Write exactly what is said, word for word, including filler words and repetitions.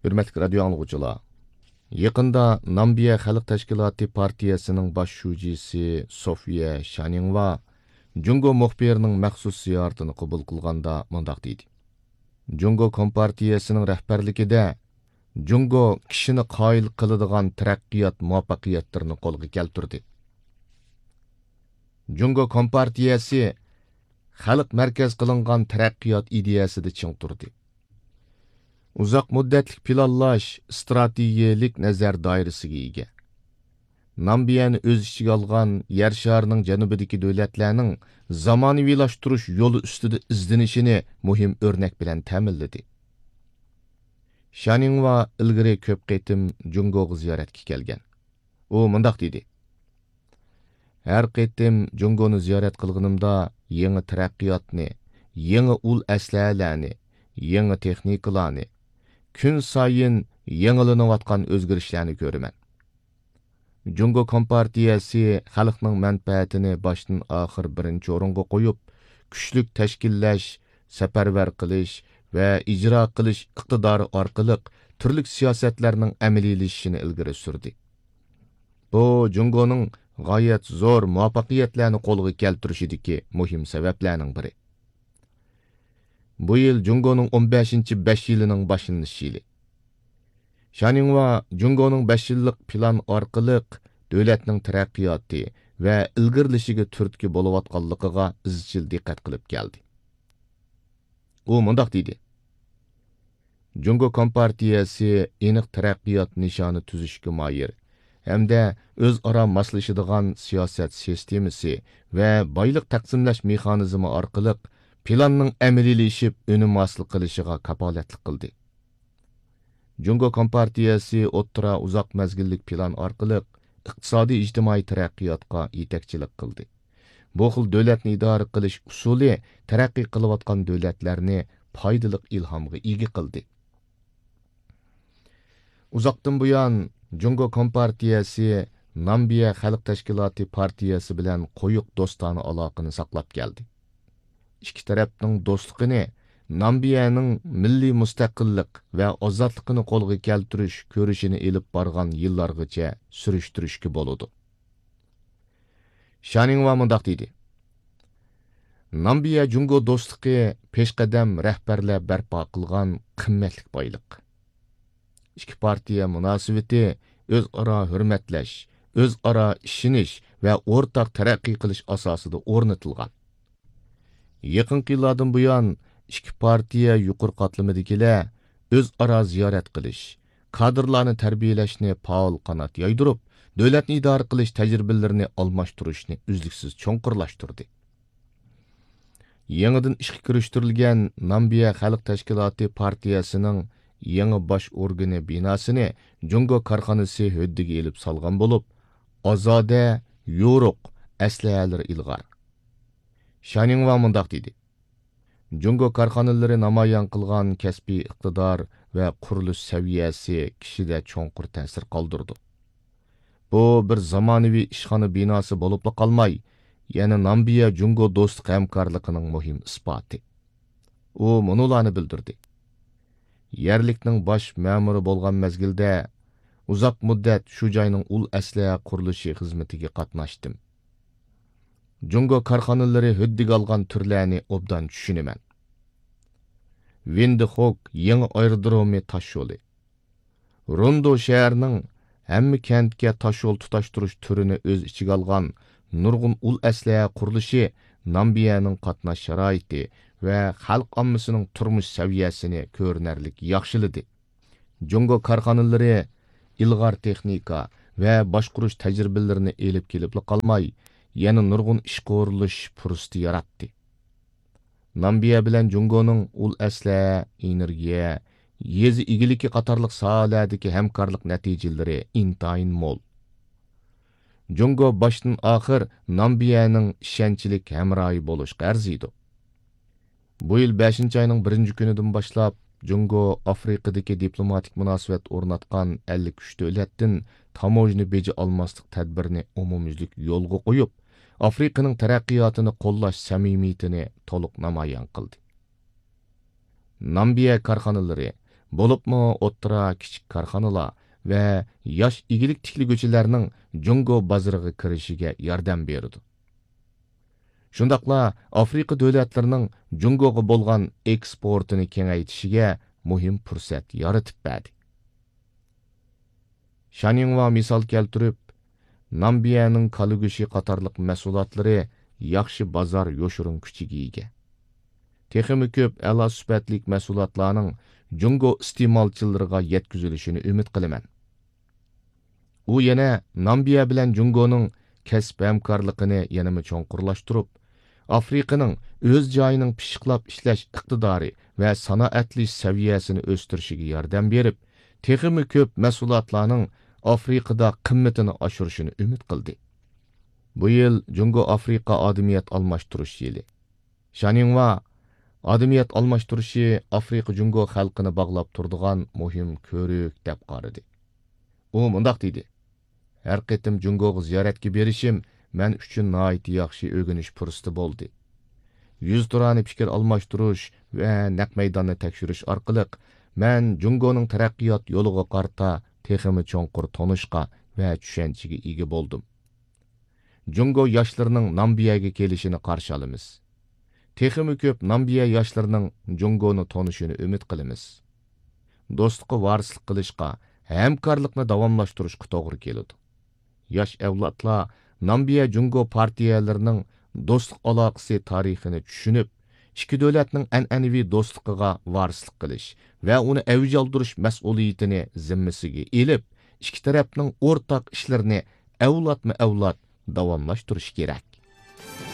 ھۆرمەتلىك رادىيو ئاڭلىغۇچىلار، يېقىندا نامىبىيە خەلق تەشكىلاتى پارتىيەسىنىڭ باش شۇجىسى سوفىيە شانىڭۋا جۇڭگو مۇخبىرىنىڭ مەخسۇس زىيارىتىنى قوبۇل قىلغاندا مۇنداق دېدى: جۇڭگو كومپارتىيەسىنىڭ رەھبەرلىكىدە جۇڭگو كىشىنى قايىل قىلىدىغان تەرەققىيات مۇۋەپپەقىيەتلىرىنى قولغا كەلتۈردى. جۇڭگو كومپارتىيەسى خەلق مەركەز قىلىنغان تەرەققىيات ئىدىيەسىدە چىڭ تۇردى. ئۇزاق مۇددەتلىك پىلانلاش، ئىستراتېگىيەلىك نەزەر دائىرىسىگە ئىگە. نامىبىيەنى ئۆز ئىچىگە ئالغان يەر شارىنىڭ جەنۇبىدىكى دۆلەتلەرنىڭ زامانىۋىلاشتۇرۇش يولى ئۈستىدە ئىزدىنىشىنى مۇھىم ئۆرنەك بىلەن تەمىنلىدى. شانىڭۋا ئىلگىرى كۆپ قېتىم جۇڭگوغا زىيارەتكە كەلگەن. ئۇ مۇنداق دېدى: ھەر قېتىم جۇڭگونى زىيارەت قىلغىنىمدا يېڭى تەرەققىياتنى، يېڭى ئۇل ئەسلىھەلەرنى، يېڭى تېخنىكىلارنى، كۈنسايىن يېڭىلىنىۋاتقان ئۆزگىرىشلەرنى كۆرىمەن. جۇڭگو كومپارتىيەسى خەلقنىڭ مەنپەئەتىنى باشتىن ئاخىر بىرىنچى ئورۇنغا قويۇپ، كۈچلۈك تەشكىللەش، سەپەرۋەر قىلىش ۋە ئىجرا قىلىش ئىقتىدارى ئارقىلىق تۈرلۈك سىياسەتلەرنىڭ ئەمەلىيلىشىشىنى ئىلگىرى سۈردى. بۇ جۇڭگونىڭ غايەت زور مۇۋەپپەقىيەتلەرنى قولغا كەلتۈرۈشىدىكى مۇھىم سەۋەبلەرنىڭ بىرى. بۇ يىل جۇڭگونىڭ ئون بەشىنچى بەش يىلىنىڭ باشلىنىش يىلى. شانىڭۋا جۇڭگونىڭ بەش يىللىق پىلان ئارقىلىق دۆلەتنىڭ تەرەققىياتى ۋە ئىلگىرىلىشىگە تۈرتكە بولۇۋاتقانلىقىغا ئىزچىل دىققەت قىلىپ كەلدى. ئۇ مۇنداق دېدى: جۇڭگو كومپارتىيەسى ئېنىق تەرەققىيات نىشانى تۈزۈشكە ماھىر ھەمدە ئۆزئارا ماسلىشىدىغان سىياسەت سىستېمىسى ۋە بايلىق تەقسىملەش مېخانىزمى ئارقىلىق پىلاننىڭ ئەمەلىيلىشىپ ئۈنۈم ھاسىل قىلىشىغا كاپالەتلىك قىلدى. جۇڭگو كومپارتىيەسى ئوتتۇرا ئۇزاق مەزگىللىك پىلان ئارقىلىق ئىقتىسادىي ئىجتىمائىي تەرەققىياتقا يېتەكچىلىك قىلدى. بۇ خىل دۆلەتنى ئىدارە قىلىش ئۇسۇلى تەرەققىي قىلىۋاتقان دۆلەتلەرنى پايدىلىق ئىلھامغا ئىگە قىلدى. ئۇزاقتىن بۇيان جۇڭگو كومپارتىيەسى نامىبىيە خەلق تەشكىلاتى پارتىيەسى بىلەن قويۇق دوستانە ئالاقىنى ساقلاپ كەلدى. ئىككى تەرەپنىڭ دوستلۇقىنى نامىبىيەنىڭ مىللىي مۇستەقىللىق ۋە ئازادلىقىنى قولغا كەلتۈرۈش كۈرىشىنى ئېلىپ بارغان يىللارغىچە سۈرۈشتۈرۈشكە بولىدۇ. شانىڭۋا مۇنداق دېدى: نامىبىيە جۇڭگو دوستلۇقى پېشقەدەم رەھبەرلەر بەرپا قىلغان قىممەتلىك بايلىق. ئىككى پارتىيە مۇناسىۋىتى ئۆزئارا ھۆرمەتلەش، ئۆزئارا ئىشىنىش ۋە ئورتاق تەرەققىي قىلىش ئاساسىدا ئورنىتىلغان. يېقىنقى يىللاردىن بۇيان، ئىككى پارتىيە يۇقىرى قاتلىمىدىكىلەر ئۆزئارا زىيارەت قىلىش، كادىرلارنى تەربىيەلەشنى پائال قانات يايدۇرۇپ، دۆلەتنى ئىدارە قىلىش تەجرىبىلىرىنى ئالماشتۇرۇشنى ئۈزلۈكسىز چوڭقۇرلاشتۇردى. يېڭىدىن ئىشقا كىرىشتۈرۈلگەن نامىبىيە خەلق تەشكىلاتى پارتىيەسىنىڭ يېڭى باش ئورگىنى بىناسىنى جۇڭگو كارخانىسى ھۆددىگە ئېلىپ سالغان بولۇپ، ئازادە، يورۇق، ئەسلىھەلىرى ئىلغار. شانىڭۋا مۇنداق دېدى: جۇڭگو كارخانىلىرى نامايان قىلغان كەسپىي ئىقتىدار ۋە قۇرۇلۇش سەۋىيەسى كىشىدە چوڭقۇر تەسىر قالدۇرىدۇ. بۇ بىر زامانىۋى ئىشخانا بىناسى بولۇپلا قالماي، يەنە نامىبىيە جۇڭگو دوستلۇق ھەمكارلىقىنىڭ مۇھىم ئىسپاتى. ئۇ مۇنۇلارنى بىلدۈردى: يەرلىكنىڭ باش مەمۇرى بولغان مەزگىلدە ئۇزاق مۇددەت شۇ جاينىڭ ئۇل ئەسلىھە قۇرۇلۇشى خىزمىتىگە قاتناشتىم. جۇڭگو كارخانىلىرى ھۆددىگە ئالغان تۈرلەرنى ئوبدان چۈشىنىمەن. ۋىندخوك يېڭى ئايرودرومى تاشيولى. روندو شەھىرىنىڭ ھەممە كەنتكە تاشيول تۇتاشتۇرۇش تۈرىنى ئۆز ئىچىگە ئالغان نۇرغۇن ئۇل ئەسلىھە قۇرۇلۇشى نامىبىيەنىڭ قاتناش شارائىتى ۋە خەلق ئاممىسىنىڭ تۇرمۇش سەۋىيەسىنى كۆرۈنەرلىك ياخشىلىدى. جۇڭگو كارخانىلىرى ئىلغار تېخنىكا ۋە باشقۇرۇش تەجرىبىلىرىنى ئېلىپ كېلىپلا قالماي، يەنە نۇرغۇن ئىشقا ئورۇنلىشىش پۇرسىتى ياراتتى. نامىبىيە بىلەن جۇڭگونىڭ ئۇل ئەسلىھە، ئېنېرگىيە، يېزا ئىگىلىكى قاتارلىق ساھەلەردىكى ھەمكارلىق نەتىجىلىرى ئىنتايىن مول. جۇڭگو باشتىن ئاخىر نامىبىيەنىڭ ئىشەنچلىك ھەمراھى بولۇشقا ئەرزىيدۇ. بۇ يىل بەشىنچى ئاينىڭ بىرىنچى كۈنىدىن باشلاپ، جۇڭگو ئافرىقىدىكى دىپلوماتىك مۇناسىۋەت ئورناتقان ئەللىك ئۈچ دۆلەتتىن تاموژنا بېجى ئالماسلىق تەدبىرىنى ئومۇميۈزلۈك يولغا قويۇپ، ئافرىقىنىڭ تەرەققىياتىنى قوللاش سەمىمىيىتىنى تولۇق نامايان قىلدى. نامىبىيە كارخانىلىرى بولۇپمۇ ئوتتۇرا، كىچىك كارخانىلار ۋە ياش ئىگىلىك تىكلىگۈچىلەرنىڭ جۇڭگو بازىرىغا كىرىشىگە ياردەم بېرىدۇ. شۇنداقلا ئافرىقا دۆلەتلىرىنىڭ جۇڭگوغا بولغان ئېكسپورتىنى كېڭەيتىشىگە مۇھىم پۇرسەت يارىتىپ بەردى. شانىڭۋا مىسال كەلتۈرۈپ، نامىبىيەنىڭ كالا گۆشى قاتارلىق مەھسۇلاتلىرى ياخشى بازار يوشۇرۇن كۈچىگە ئىگە. تېخىمۇ كۆپ ئەلا سۈپەتلىك مەھسۇلاتلارنىڭ جۇڭگو ئىستېمالچىلىرىغا يەتكۈزۈلۈشىنى ئۈمىد قىلىمەن. ئۇ يەنە نامىبىيە بىلەن جۇڭگونىڭ كەسىپ ھەمكارلىقىنى يەنىمۇ چوڭقۇرلاشتۇرۇپ، ئافرىقىنىڭ ئۆز جايىنىڭ پىششىقلاپ ئىشلەش ئىقتىدارى ۋە سانائەتلىشىش سەۋىيەسىنى ئۆستۈرۈشىگە ياردەم بېرىپ، تېخىمۇ كۆپ مەھسۇلاتلارنىڭ ئافرىقىدا قىممىتىنى ئاشۇرۇشىنى ئۈمىد قىلدى. بۇ يىل جۇڭگو ئافرىقا ئادىمىيەت ئالماشتۇرۇش يىلى. شانىڭۋا ئادىمىيەت ئالماشتۇرۇشى ئافرىقا جۇڭگو خەلقىنى باغلاپ تۇرىدىغان مۇھىم كۆۋرۈك دەپ قارىدى. ئۇ مۇنداق دېدى: «ھەر قېتىم جۇڭگوغا زىيارەتكە بېرىشىم مەن ئۈچۈن ناھايىتى ياخشى ئۆگىنىش پۇرسىتى بولدى. يۈزتۇرانە پىكىر ئالماشتۇرۇش ۋە نەق مەيداننى تەكشۈرۈش ئارقىلىق مەن جۇڭگونىڭ تەرەققىيات يولىغا قارىتا تېخىمۇ چوڭقۇر تونۇشقا ۋە چۈشەنچىگە ئىگە بولدۇم. جۇڭگو ياشلىرىنىڭ نامىبىيەگە كېلىشىنى قارشى ئالىمىز. تېخىمۇ كۆپ نامىبىيە ياشلىرىنىڭ جۇڭگونى تونۇشىنى ئۈمىد قىلىمىز. دوستلۇققا ۋارىسلىق قىلىشقا، ھەمكارلىقنى داۋاملاشتۇرۇشقا توغرا كېلىدۇ. ياش ئەۋلادلار نامىبىيە جۇڭگو پارتىيەلىرىنىڭ دوستلۇق ئالاقىسى تارىخىنى چۈشىنىپ، ئىككى دۆلەتنىڭ ئەنئەنىۋى دوستلۇقىغا ۋارىسلىق قىلىش ۋە ئۇنى ئەۋج ئالدۇرۇش مەسئۇلىيىتىنى زىممىسىگە ئېلىپ، ئىككى تەرەپنىڭ ئورتاق ئىشلىرىنى ئەۋلادمۇ ئەۋلاد داۋاملاشتۇرۇشى كېرەك.»